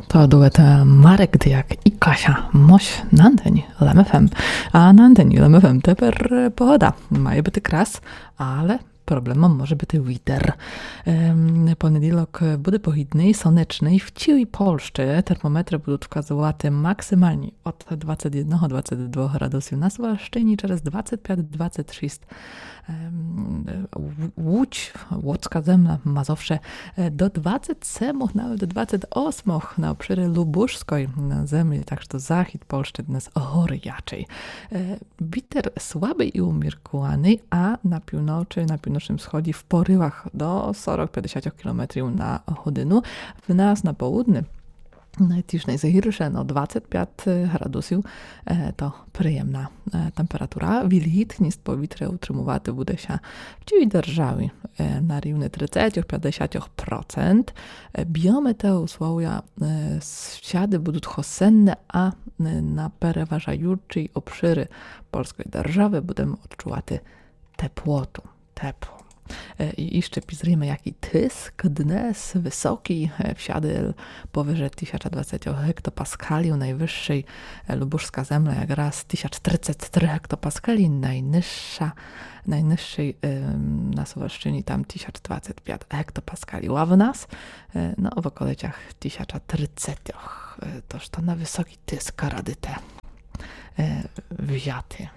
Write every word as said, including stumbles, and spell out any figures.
То дует Марек Дияк і Кася Мось на антені Лем ФМ. А на антені Лем ФМ тепер, е, погода. Має быти крас, але проблемом може быти вітер. Ем, понеділок буде погідный, сонечный. В цілій Польщі термометры будуть вказувати максималні од двадцять єдного, двадцять двох градусів на Сувалщині, через двадцять пять, двадцять шість Ем, Луч, Луцька земля, Мазовше, е, до двадцять семох, навіть до двадцять осьмох на обширі Лубужської землі, так што захід Польщі днес горячый. Е, вітер слабый і уміркуваный, а на півночы, на півночным сході в порывах до сорок, пятдесят кілометрів на годину. В нас на поудні Тіж найзагірше, но двадцять пять градусів, е, то приємна, е, температура. Вільгітніст повітря утримувати буде ся в цілій державі, е, на рівні тридцятьох, пятдесятьох процент. Е, біометеоусловія, е, с-, всяды будуть хосенне, а, е, на переважаючій обширі польської державы будеме одчувати теплоту. Тепло. Е, і іщы пізріме, якій тиск днес высокій, е, всяды повыже тисяча двадцять гектопаскалів, найвысшій, е, Лубужська земля якраз тисяч тридцять три гектопаскалі, найнижша, найнижшій, е, на Сувалщині там тисяч двадцять пять гектопаскалів, а в нас, е, но, в околицях тисяча тридцятьох. Е, тож то на высокій тиск радите, е, взяти.